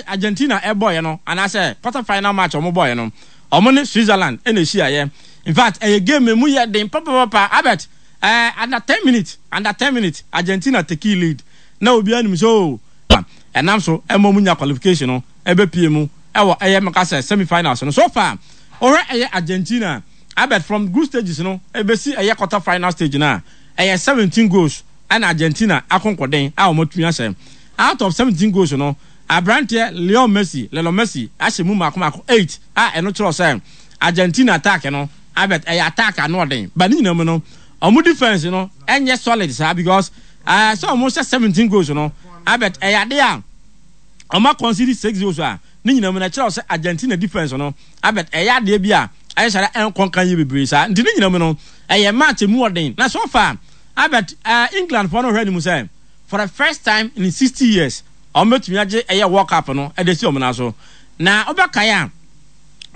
Argentina ɛbɔɔyɛ no anaasɛ quarter final match ɔmo bɔɔyɛ no, ɔmo ne Switzerland ɛna ehyiaeɛ. In fact, ɛyɛ game emu yɛ den papapapa. Albert, under 10 minutes, under 10 minutes, Argentina take lead na obiara nim sɛ o ɛnam so ɛma ɔmo nya qualification no ɛbɛpie mu ɛwɔ ɛyɛ mɛka sɛ semi finals no. So far, ɔhwɛ ɛyɛ Argentina, Albert, from group stages no ɛbɛsi ɛyɛ quarter final stage no a, ɛyɛ 17 goals ɛna Argentina akonkɔden a wɔn atumi ahyɛ. Out of 17 goals no, aberanteɛ Leo Messi, Lionel Messi, ahyɛ mu mako mako eight a ɛno kyerɛ sɛ Argentina attack no, Albert, ɛyɛ attack ano ɔden. But ne nyinaa mu no, wɔn defence no ɛnyɛ solid saa because sɛ wɔn hyɛ 17 goals no, Albert, ɛyɛ ade a wɔn aconcede six goals a ne nyinaa mu no ɛkyerɛ sɛ Argentina defence no, Albert, ɛyɛ adeɛ bi a ɛyɛ sɛ ɛnkɔnkan yie bebree saa. Nti ne nyinaa mu no, ɛyɛ match mu ɔden. Na so far, Albert, England foɔ no hwɛ anim sɛ for the first time in 60 years wɔn bɛtumi agye ɛyɛ World Cup no ɛde si wɔn nan so. Na ɔbɛkae a,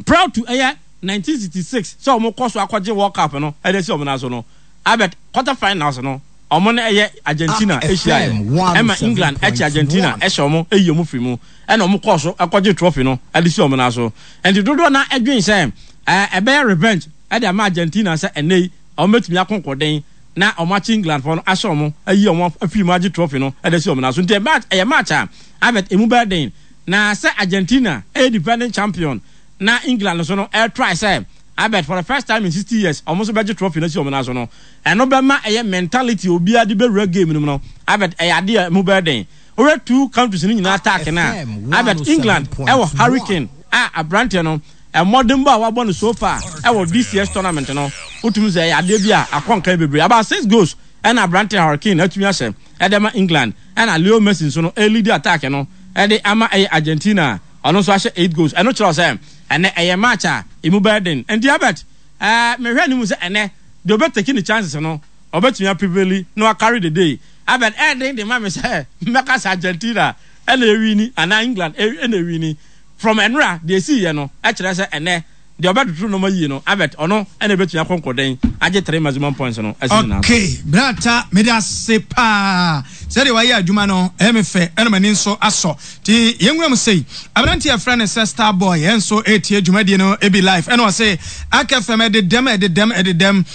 prior to ɛyɛ 1966 sɛ wɔn kɔ so akɔgye World Cup no ɛde si wɔn nan so no, Albert, quarter finals no, wɔn no ɛyɛ Argentina ahyia yɛ ɛma England ɛkye Argentina ɛhyɛ wɔn, ɛyi wɔn firi mu, ɛna wɔn kɔɔ so ɛkɔgye trophy no ɛde si wɔn nan so. Nti dodoɔ na ɛdwen sɛ ɛbɛyɛ revenge ɛde ama Argentina sɛ ɛnɛ yi wɔn bɛtumi akonkɔden na wɔn akye England fɔ no, ahyɛ wɔn, ayi wɔn afiri mu, agye trophy no ɛde si wɔn nan so. Nti ɛyɛ match a, Albert, emu bɛyɛ den. Na sɛ Argentina ɛyɛ defending champion na England nso no ɛtry sɛ, Albert, for the first time in 60 years wɔn nso bɛgye trophy no asi wɔn nan so no, ɛno bɛma ɛyɛ mentality obiara de bɛwura game no mu no, Albert, ɛyɛ adeɛ a emu bɛyɛ den. Wɔyɛ two countries no nyinaa attack na, Albert, England ɛwɔ Harry Kane a aberanteɛ no mmɔdenbɔ a wabɔ no so far ɛwɔ this year's tournament no, wotumi sɛ ɛyɛ adeɛ bi a akɔ nkan bebree, about six goals ɛna aberanteɛ Harry Kane atumi ahyɛ ɛde ama England. Ɛna Leo Messi nso no ɛlead attack no ɛde ama ɛyɛ Argentina, ɔno nso ahyɛ eight goals. Ɛno kyerɛ sɛ ɛnɛ ɛyɛ match a emu bɛyɛ den. Nti Albert, mehwɛ anim sɛ ɛnɛ deɛ ɔbɛtake ne chances no, ɔbɛtumi aprevail na wacarry the day. Albert, ɛɛden de ma me sɛ mmɛka sɛ Argentina ɛna ewin anaa England ɛna ewin. From ɛnora deɛ esi yɛ no, ɛkyerɛ sɛ ɛnɛ deɛ ɔbɛtoto nneɛma yie no, Albert, ɔno ɛna ebɛtumi akɔnkɔden agye three maximum points no ɛsi ne nan so. Okay, brata, mede ase paa sɛdeɛ wayɛ adwuma no, ɛyɛ me fɛ, ɛna m'ani nso asɔ. Nti yɛnwura mu sei, aberante a yɛfrɛ no sɛ Star Boy ɛnso ɛretie dwumadie no bi live, ɛna ɔse Ak FM ɛde dɛm, ɛde dɛm, ɛde dɛm.